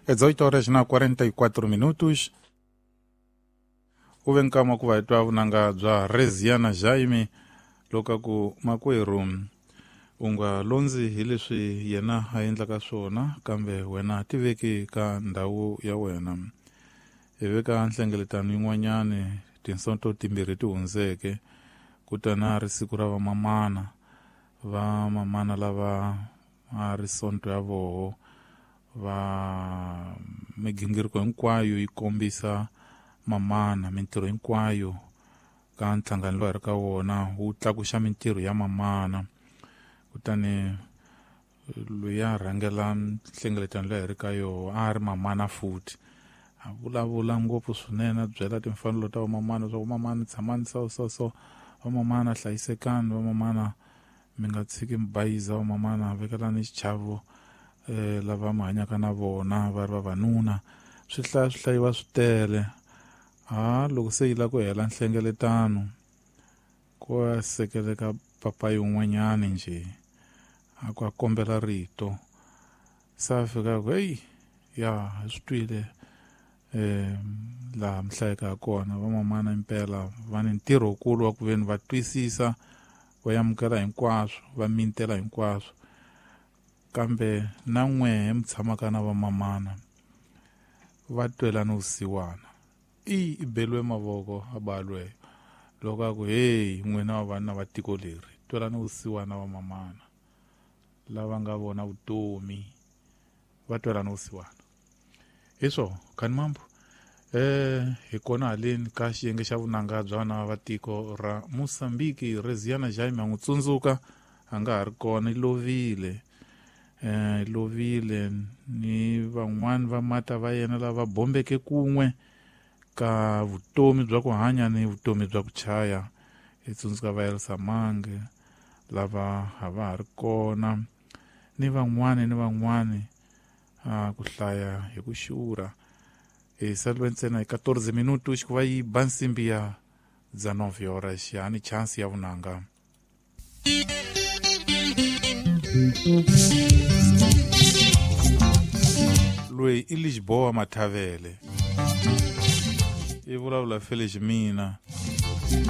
18 horas na 44 minutos. U ve nkama ku va hi twa vunanga bya Reziana Jaime loko ku makwerhu u nga londzi hi leswi yena a endlaka swona, kambe wena tiveki ka ndhawu ya wena. Hi veka nhlengeletano yin'wanyani tinsonto timbirhi ti hundzeke, kutani a ri siku ra vamamana, vamamana lava a ri sonto ya voho va migingiriko hinkwayo yi kombisa mamana, mintirho hinkwayo ka nhlangano lowu hi ri ka wona wu tlakuxa mintirho ya mamana. Kutani loyi a rhangela nhlengeletano leyi hi ri ka yoho a ri mamana futhi, a vulavula ngopfu swinene, a byela timfanelo ta vamamana leswaku vamamana tshamani so so so, vamamana hlayisekani, vamamana mi nga tshiki mi bayiza, vamamana vekelani xichavo lava mi hanyaka na vona va ri vavanuna. Swi hlaya swi hlayiwa swi tele. Ha loko se yi lava ku hela nhlengeletano, ku ya sekeleka papayi un'wanyani njhe a ku a kombela rito, se a fika ku heyi ya hi swi twile laha mi hlayeka kona vamamana impela va ni ntirho wukulu wa ku veni va twisisa, va amukela hinkwaswo, va mintela hinkwaswo, kambe na n'wehe mi tshamaka na vamamana va twelana vusiwana. I beliwe mavoko a balwe loko a ku heyi n'wina vavanuna va tiko leri twelana vusiwana vamamana lava nga vona vutomi va twelana vusiwana. Hi swo khani mambo hi kona haleni ka xiyenge xa vunanga bya vana va tiko ra Mozambique. Reziana Jaime a n'wi tsundzuka, a nga ha ri kona, i lovile, lovile ni van'wani va mata va yena lava bombeke kun'we ka vutomi bya ku hanya ni vutomi bya ku chaya. Hi tsundzuka va Elsa Mange lava a va ha ri kona ni van'wani ni van'wani, ku hlaya hi ku xurha. Hi saliwe ntsena hi 14 minutos ku va yi ba nsimbi ya 19 horas, ya ni chance ya vunanga. Loyi i Lisboa Mathavele, i vulavula Felix mina.